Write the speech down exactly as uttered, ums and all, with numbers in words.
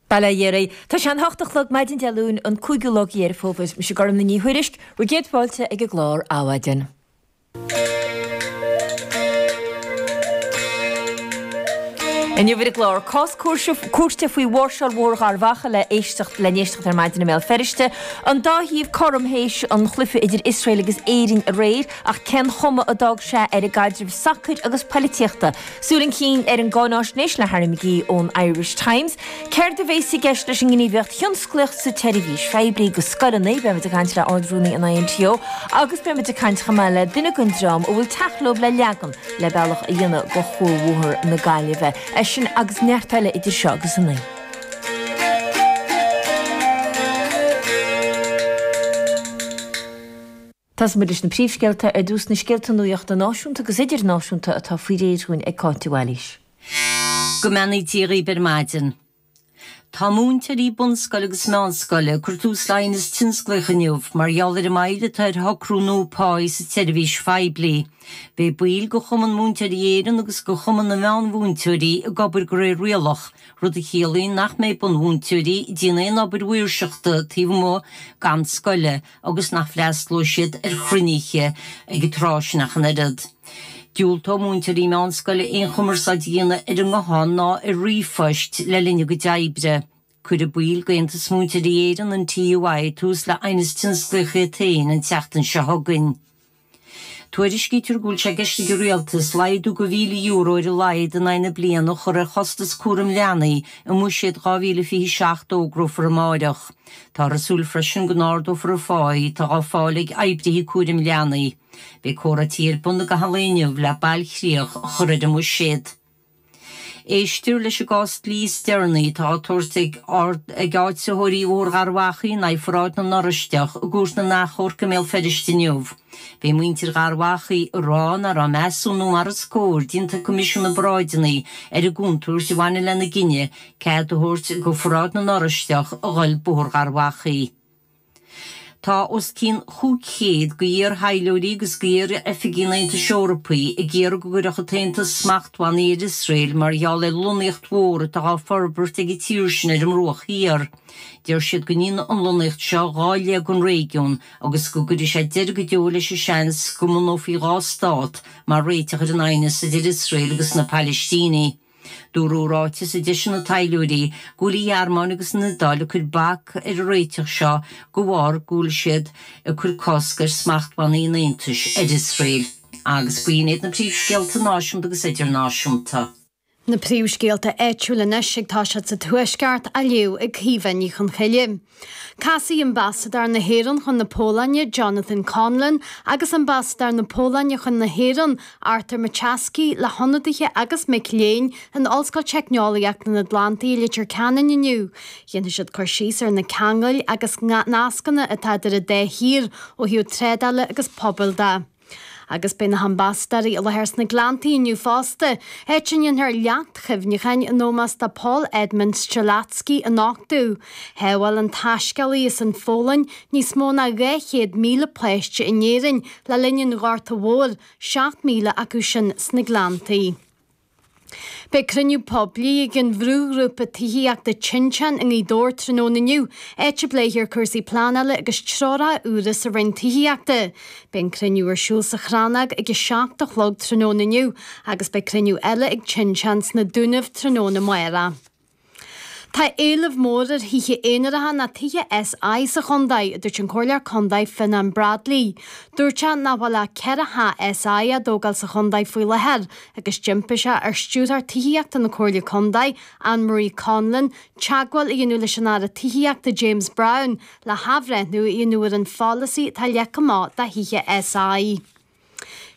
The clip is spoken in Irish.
Bail ó Dhia oraibh. Tá sé an hocht a chlog maidin Dé Luain an cúigiú lá de Dheireadh Fómhair. Mise Gormfhlaith Ní Thuairisg, bhur gcéad fáilte ag an gclár Adhmhaidin. Inniu ar an gclár, cás cúirte faoi mháirseáil Bhóthar Gharbh Achaidh le éisteacht le n-éisteacht ar maidin i mBéal Feirste. An dá thaobh cothrom théis an chluiche idir Iosrael agus Éirinn aréir, ach cén chuma a d'fhág sé ar an gcaidreamh sacair agus poilitíochta? Súil chun cinn ar an gcáináisnéis le Harry McGee ón Irish Times. Céard a bhéas i gceist leis an ngníomhaíocht thionsclaíoch sa tseirbhís phoiblí go scoileanna? Beimid ag caint le Ard-Rúnaí an INTO agus beimid ag caint chomh maith le duine den dream a bhfuil teach leo le leagan le bealach a dhéanamh go Chuarbhóthar na Gaillimhe. É sin agus neart eile idir seo agus a naoi. Tosóidh muid leis na príomhscéalta ar dtús, na scéalta nuachta náisiúnta agus idirnáisiúnta atá faoi réir dhúinn ag Cáit de Bhailís. Go mbeannaí Dia dhaoibh ar maidin. Tá múinteoirí bunscoile agus meánscoile ag cur tús le haighneas tionsclaíoch inniu mar gheall ar an moill atá ar shocrú nua páí sa tseirbhís phoiblí. Beidh baill de Chumann Múinteoirí Éireann agus de Chumann na Meánmhúinteoirí ag obair de réir rialach, rud a chiallaíonn nach mbeidh bunmhúinteoirí ag déanamh aon obair mhaoirseachta taobh amuigh d'am scoile agus nach bhfreastlóidh siad ar chruinnithe ag an tráth sin ach an oiread. Diúltóidh múinteoirí meánscoile aon chumarsáid a dhéanamh ar an nguthán ná ar ríomhphoist le linn a gcuid oibre. Cuirfidh baill d'Aontas Múinteoirí Éireann, an TUI, tús le haighneas tionsclaíoch iad féin an tseachtain seo chugainn. Tuairiscítear go bhfuil sé i gceist ag an Rialtas laghdú de mhíle euro ar a laghad in aghaidh na bliana a chur ar chostas cúraim leanaí i mBuiséad dhá mhíle fiche a seacht a fhógrófar amáireach. Táthar ag súil freisin go n-ardófar an phá atá á fáil ag oibrithe cúraim leanaí. Beidh comhráití ar bun i gcaitheamh an lae inniu le bailchríoch a chur ar an mbuiséad. Éistear leis an gcás dlí is deireanaí atá á tabhairt ag áitritheoirí Bhóthar Gharbh Achaidh in aghaidh Pharáid na nOraisteach i gCúirt na nAchomharc i mBéal Feirste inniu. Beidh muintir Gharbh Achaidh ag rá nach raibh measúnú mar is cóir déanta ag Coimisiún na bParáideanna ar an gcontúirt a bhaineann lena gcinneadh cead a thabhairt do Pharáid na nOraisteach a dhul Bóthar Gharbh Achaidh. Tá os cionn chúig chéad d'iar-thaidhleoirí agus d'iar-oifigigh an Aontais Eorpaigh ag iarraidh go gcuirfeadh an tAontas smachtbhannaí ar Iosrael mar gheall ar lonnaíocht mhór atá á forbairt ag an tír sin ar an mBruach Thiar. Deir siad go ndéanfaidh an lonnaíocht seo dhá leath den réigiún agus go gcuirfidh sé deireadh go deo leis an seans go mbunófaí dhá stát mar réiteach ar an aighneas idir Iosrael agus na Palaistínigh. Dúradh i ráiteas a d'eisigh na taidhleoirí go bhfuil an Ghearmáin agus an Iodáil ag cur bac ar an réiteach seo de bharr go bhfuil siad ag cur cosc ar smachtbhannaí an Aontais ar Iosrael. Agus b'in iad na príomhscéalta náisiúnta agus idirnáisiúnta. Na príomhscéalta áitiúla anois ag toiseacht sa Tuaisceart á léamh ag Caoimhe Ní Chonchoille. Casfaidh Ambasadóir na hÉireann chun na Polainne, Jonathan Conlon, agus Ambasadóir na Polainne chun na hÉireann, Artur Maciejewski, le hionadaithe agus mic léinn in Ollscoil Teicneolaíochta an Atlantaigh i Leitir Ceanainn inniu. Dhéanfaidh siad cur síos ar na ceangail agus nascanna atá idir an dá thír ó thaobh trádála agus pobail de. Agus beidh na hambasadóirí i láthair sna Gleanntaí inniu fosta, áit a ndéanfar leacht chuimhneacháin in ómós do Paul Edmund Strzelecki a nochtadh. Shábháil an taiscéalaí as an Pholainn níos mó ná dhá chéad míle páiste in Éirinn le linn an Ghorta Mhóir, seacht míle acu sin sna Gleanntaí. Beidh cruinniú poiblí ag an bhrúghrúpa tithíochta Tinteán i nGaoth Dobhair tráthnóna inniu, áit a bpléifear cúrsaí pleanála agus treoracha úra sa Roinn Tithíochta. Beidh an cruinniú ar siúl sa Chrannóg ag a seacht a chlog tráthnóna inniu agus beidh cruinniú eile ag Tinteán sna Dúnaibh tráthnóna amárach. Tá éileamh mór ar thithe aonaracha ná tithe SI sa chontae, a dúirt an Comhairleoir Contae Fionnán Bradley. Dúirt sé nach bhfuil ach ceithre theach SI á dtógáil sa chontae faoi láthair agus d'impigh sé ar Stiúrthóir Tithíochta na Comhairle Contae, Anne Marie Conlon, teagmháil a dhéanamh leis an Aire Tithíochta James Browne le hathbhreithniú a dhéanamh ar an pholasaí atá leagtha amach do thithe SI.